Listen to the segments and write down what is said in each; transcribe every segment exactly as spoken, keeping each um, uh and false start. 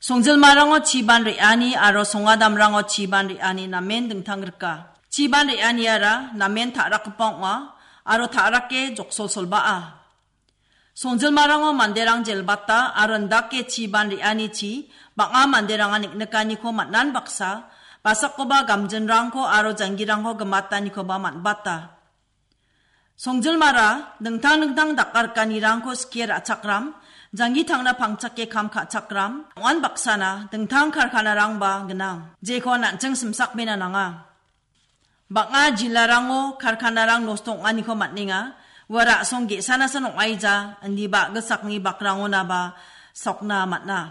Songjilmarango chiban re·ani aro songadamrango chiban re·ani namen dingtang rika. Chiban re·aniara namen ta·rakgipa ong·a aro ta·rake joksolsolbaa. Songjilmarango manderang jelbata aro indake chiban re·anichi bang·a manderangan neng·nikaniko man·an baksa, basakoba gamjinrangko aro janggirangko gimatanikoba man·bata. Songjilmara dingtang dingtang dakarikanirangko skie ra·chakram, janggi tangna pangchake kam ka·chakram, ong·an baksana dingtang karkanarangba gnang, jeko an·ching simsakbena nanga. Bang·a jilarango karkanarang nosto ong·aniko man·enga, ua ra·song ge·sanasan ong·aija, indiba a·gisakni bakrangonaba sokna man·a.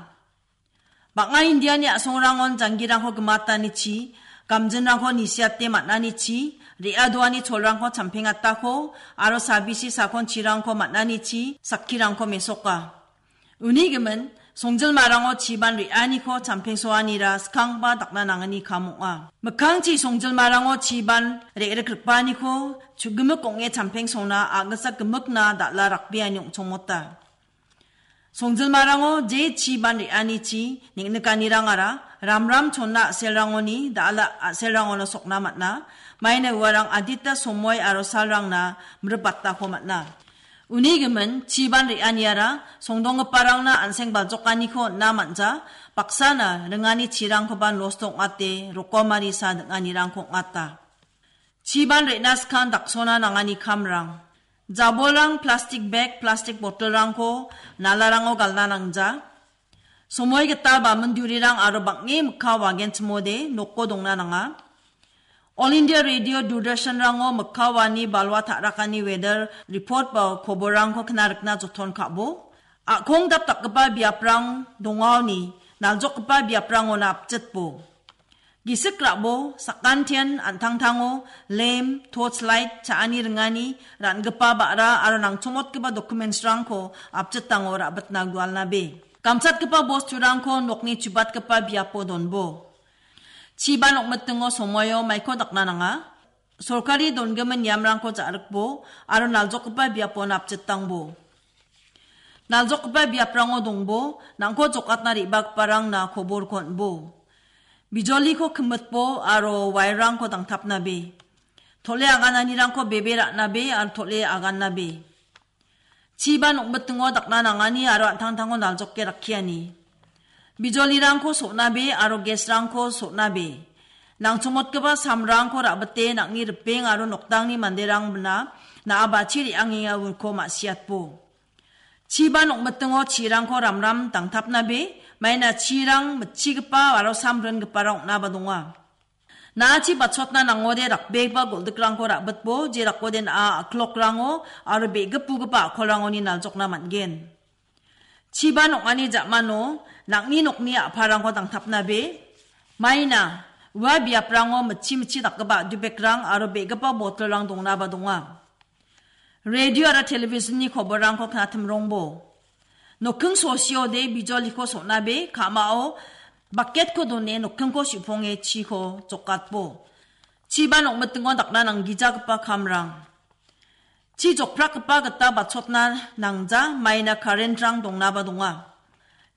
Bang·a Indiani a·songrangon janggirangko gimatanichi, gamjinrangko nisiate man·anichi, re·adoani cholrangko champengatako, aro sabisi sakonchirangko man·anichi, sakkirangko mesoka. Uni gimin, songjilmarango chiban re·aniko champengsoanira skangba dakna nangani kam ong·a. Mikkangchi songjilmarango chiban re·rikripaniko chugimik ong·e champengsona a·gisa gimikna dal·a rakbeani ong·chongmota. Songjilmarango je chiban re·anichi neng·nikanirangara ramram chonna a·selrangoni dal·a a·selrangono sokna man·a, maina uarang adita somoi aro salrangna mribatako man·a. Uni gimin, chiban re·aniara songdonggiparangna an·seng baljokaniko on·na man·ja, baksana ringani chirangkoba nosto ong·ate rokomarisa ding·anirangko ong·ata. Chiban re·na skang daksona nangani kamrang. Jabolrang plastik bag, plastik botolrangko nalarango galna nangja. Somoi gital ba mindurirang aro bang·e mikka wagenchimode noko dongna nanga. All India Radio Doordarshanrango mikka wani balwa ta·rakani weather report ba koborrangko kna rikna joton ka·bo. A·kong dapdakgipa biaprang dongaoni naljokgipa biaprangona apjitbo. Gisik ra·bo, sakantian an·tangtango lem, torch light, cha·ani ringani, ra·ngipa ba·ra aro nangchongmotgipa documentsrangko apjitango ra·bitna gualnabe. Gamchatgipa bosturangko nokni chubatgipa biapo donbo. Chiban ong·mitingo somoio maiko dakna nanga. Sorkari dongimin niamrangko ja·rikbo aro naljokgipa biapo napjitangbo. Naljokgipa biaprango dongbo, nangko jokatna re·bagiparangna koborko on·bo. Bijoliko kimitbo aro wairrangko dangtapnabe. Tole agananirangko bebe ra·nabe aro tole agannabe. Chiban ong·mitingo dakna nangani aro an·tangtango naljoke rakkiani. Bijolirangko so·nabe aro gesrangko so·nabe. Nangchongmotgipa samrangko ra·bite nang·ni ripeng aro nokdangni manderangna na·a bachi re·angenga uko ma·siatbo. Chiban ong·mitingo chirangko ramram dangtapnabe, maina chirang mitchigipa aro samringiparang ong·naba donga. Na·achi bachotna nangode rakbegipa goldikrangko ra·bitbo, je rakode na·a a·klokrango aro be·gipugipa a·kolrangoni naljokna man·gen. Chiban ong·ani ja·mano nang·ni nokni a·palrangko dangtapnabe, maina ua biaprango mitchi mitchi dakgipa a·dubekrang aro be·gipa botolrang dongnaba donga. Radio aro televisionni koborrangko knatimrongbo. Nokking sosiode bijoliko so·nabe, ka·mao baketko done nokkingko su·ponge chiko jokatbo. Chiban ong·mitingo dakna nanggijagipa kamrang. Chi jokprakgipa gita bachotna nangja, maina karentrang dongnaba donga.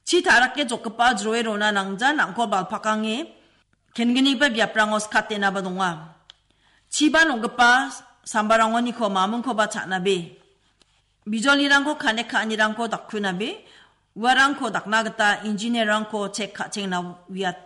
Chi ta·rake jokgipa jroe rona nangja, nangko balpakange, kenggipa biaprango skatenaba donga. Chiban ong·gipa sambarangoniko mamingkoba cha·nabe. Bijolirangko kanek ka·anirangko dakkunabe. Uarangko dakna gita engineer-rangko chek ka·chengna uiat-,